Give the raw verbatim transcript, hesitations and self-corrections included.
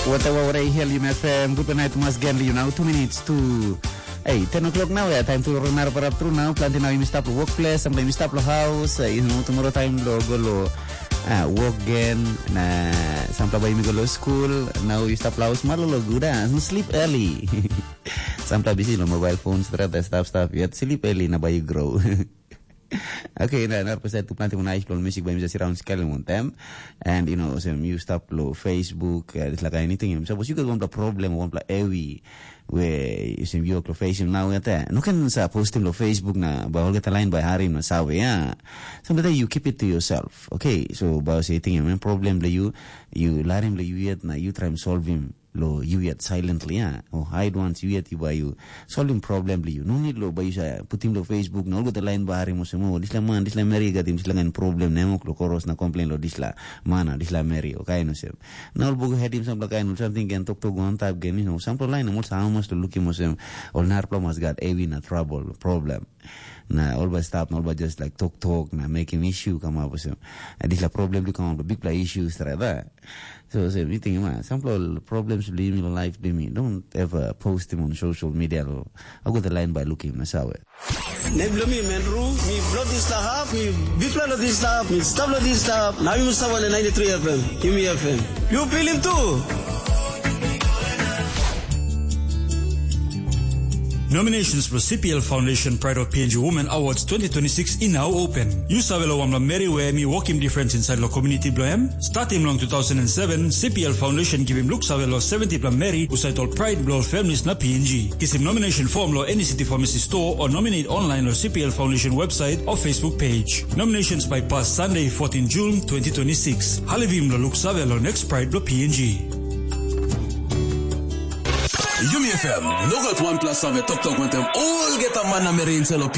Whatever, whatever, here you may fam. Good night, Mas Genli, you know, two minutes to, hey, ten o'clock now, yeah, time to run up, up through now. Planting now, you stop the workplace, sometimes you stop the house, uh, you know, tomorrow time, lo, go lo, uh, work again, na, sample by you go lo school, now you stop the house, malo lo good, uh, sleep early. Sample busy lo mobile phones, that stuff, stuff, yet sleep early, na by you grow. Okay, na na pesa tu planti mo nice lo music by Mister Surround Scaling on them. And you know, so you stop lo Facebook, uh, it's like anything. Suppose you got one problem, one pla ewi, where you see you lo face him now at that. No can sa post him lo Facebook na, but all get a line by Harry na sawe, yeah. Sometimes you keep it to yourself. Okay, so by say thing, main problem lo you, you let him lo you yet, na you try and solve him. Lo you yet silently, yeah. Or hide once you yet you by you. Solving problem li you. No need lo ba you sa put him lo Facebook, na all go the line ba hari mo semo. Disla man, disla meri gat him, disla ngan problem, nemo lo koros na complain lo disla mana, disla meri, okay, no sem. Na all bogo head him sample kind something gen tok tok go on tap gen, you know, sample line mo sa mas lo look him mo sem. All nar pla mas gat evi na trouble, problem. Na all by stop, na all by just like talk talk, na make him issue come up mo sem. And disla problem do come up, big pla issues, right? So, so, you think, man, sample problems bli mi, life bli mi. Don't ever post him on social media. Lo. I got the line by looking, that's how it. Nem blo mi Menru, mi blo dislap, mi bikpela lo dislap, mi stap lo dislap. Na mi stap lo ninety-three F M, Yumi F M. You feel him too? Nominations for C P L Foundation Pride of P N G Women Awards twenty twenty-six in now open. You save lo wamla meri we mi working difference inside lo community blo em. Starting long two thousand and seven, C P L Foundation giving look save lo seventy pla meri usai tol pride blo families na P N G. Kisim nomination form lo any city pharmacy store or nominate online lo C P L Foundation website or Facebook page. Nominations by pass Sunday, fourteen June twenty twenty-six. Halivim lo look save lo next pride blo P N G. Yumi F M, no gat wanpela save toktok wantaim olgeta man na meri inside lo P N G.